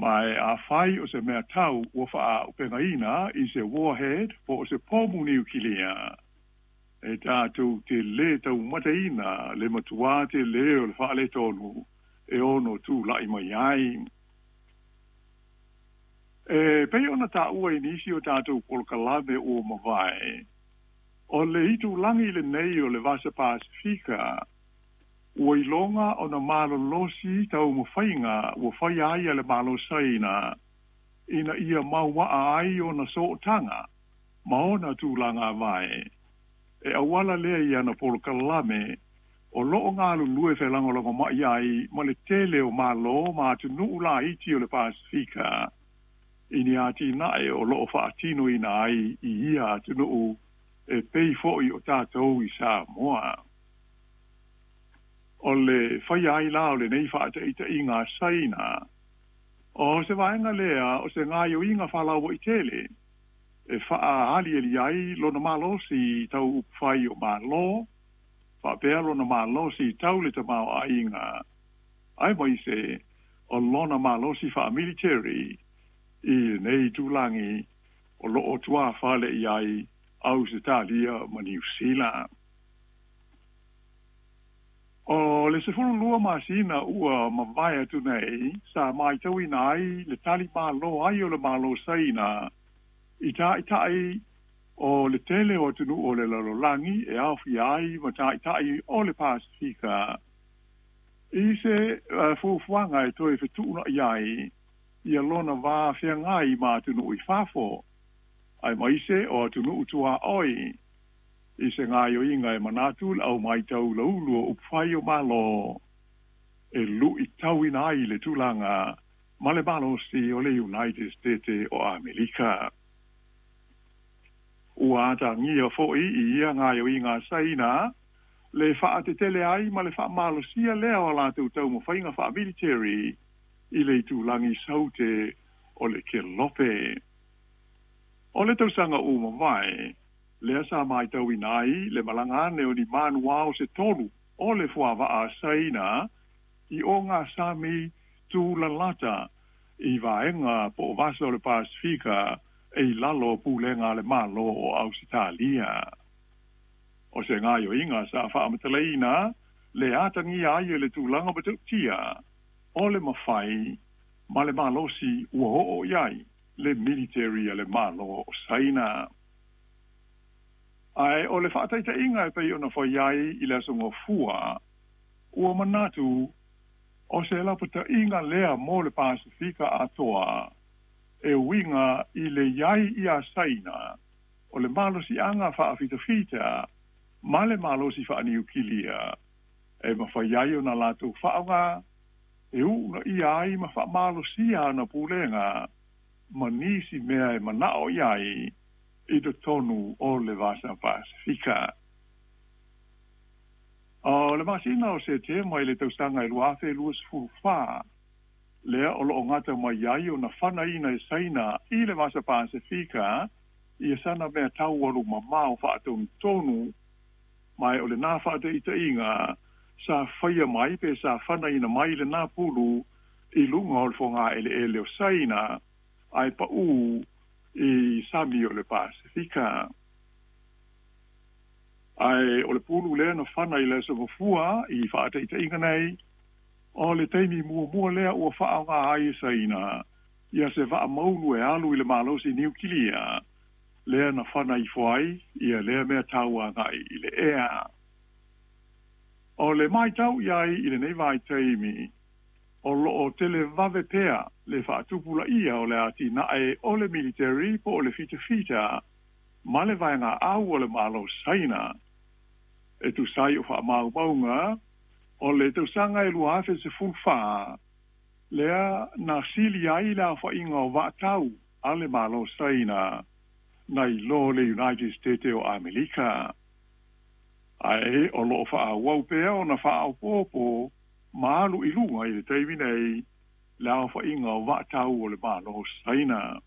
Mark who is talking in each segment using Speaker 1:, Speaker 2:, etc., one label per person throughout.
Speaker 1: Ma e afai o se meatau ua faaauupegaina i se warhead po o se pomu niukilia, e tatou te lē taumataina le matuā telē o le faaletonu e ono tula'i mai ai. E pei ona taua i nisi o tatou polokalame ua mavae, o le itulagi lenei o le Vasa Pasefika ua iloga ona malolosi taumafaiga ua faia ai e le Malo Saina ina ia mauaa ai ona sootaga ma ona tulaga vae e auala lea i ana polokalame o loo galulue felagolagomai ai ma le tele o Malo ma atunuu laiti o le Pasefika i ni atinae o loo faatinoina ai i ia atunuu e pei foi o tatou i Samoa. O le faia ai la o lenei faataitaiga a Saina, o se vaega lea o se gaoioiga faalauaitele e faaaliali ai lona malosi tau upufai o Malo, faapea lona malosi tau le tamaoaiga, aemaise o lona malosi faamiliteri i lenei itulagi o loo tuafale i ai Ausetalia ma Niu Sila. O le 12 masina ua mavae atu nei, sa matauina ai le tali malo ai o le Malo Saina i taitai o le tele o atunuu o le lalolagi e aofia ai ma taitai o le Pasefika i se fuafuaga e toe fetuuna'i ai ia lona va feagai ma atunuu i fafo, aemaise o atunuu tuaoi, i se gaoioiga e manatu le au matau laulu o upufai o Malo e luitauina ai le tulaga ma le malosi o le United States o Amerika. Ua atagia foi i ia gaoioiga a Saina le faatetele ai ma le faamalosia lea o latou taumafaiga faamiliteri i le itulagi saute o le Kelope. O le tausaga ua mavae, lea sa matauina ai le malaga ane o ni manuao se tolu o le fuavaa a Saina i ogasami tulalata i vaega po o vasa o le Pasefika e i lalo o pulega a le Malo o Ausetalia. O se gaoioiga sa faamatalaina le atagia ai e le tulaga matautia o le mafai ma le malosi ua oo i ai le militeri a le Malo o Saina. Ae o le faataitaiga e pei ona fai ai i le Aso Gafua, ua manatu o se lapataiga lea mo le Pasefika atoa e uiga i le i ai iā Saina o le malosiaga faafitafita ma le malosi faaniukilia e mafai ai ona latou faaaoga e uunaia ai ma faamalosia ana pulega ma nisi mea e manao i ai i totonu o le Vasa Pasefika. O le masina o Setema i le tausaga e 2024, lea o loo gata mai ai ona fanaina e Saina i le Vasa Pasefika ia sana meatau alumamao faatonutonu, ma o lenā faataitaiga sa faia mai pe sa fanaina mai lenā pulu i luga o le fogaeleele o Saina ae paū i sami o le Pasefika. Ae o le pulu lea na fana i le Aso Gafua i faataitaiga nei, o le taimi muamua lea ua faaaoga ai e Saina ia se vaa maulu e alu i le malosi niukilia lea na fana ifo ai ia lea meatau agai i le ea. O le matau i ai i lenei vaitaimi, o loo televave pea le faatupulaia o le atinae o le militeri po o le fitafita ma le vaega au o le Malo Saina. E tusa ai o faamaumauga o le tausaga e 2014, lea na sili ai le aofaiga o vaatau a le Malo Saina nai lo le United States o Amerika. Ae o loo faaauau pea ona faaopoopo ma alu i luga i le taimi nei le aofaiga o vaatau o le Malo Saina.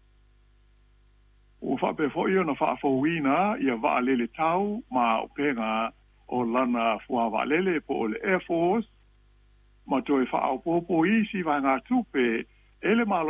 Speaker 1: Ua faapea foi ona faafouina ia vaalele tau ma auupega o lana fuavaalele po o le Air Force ma toe faaopoopo isi vaegatupe e le Malo.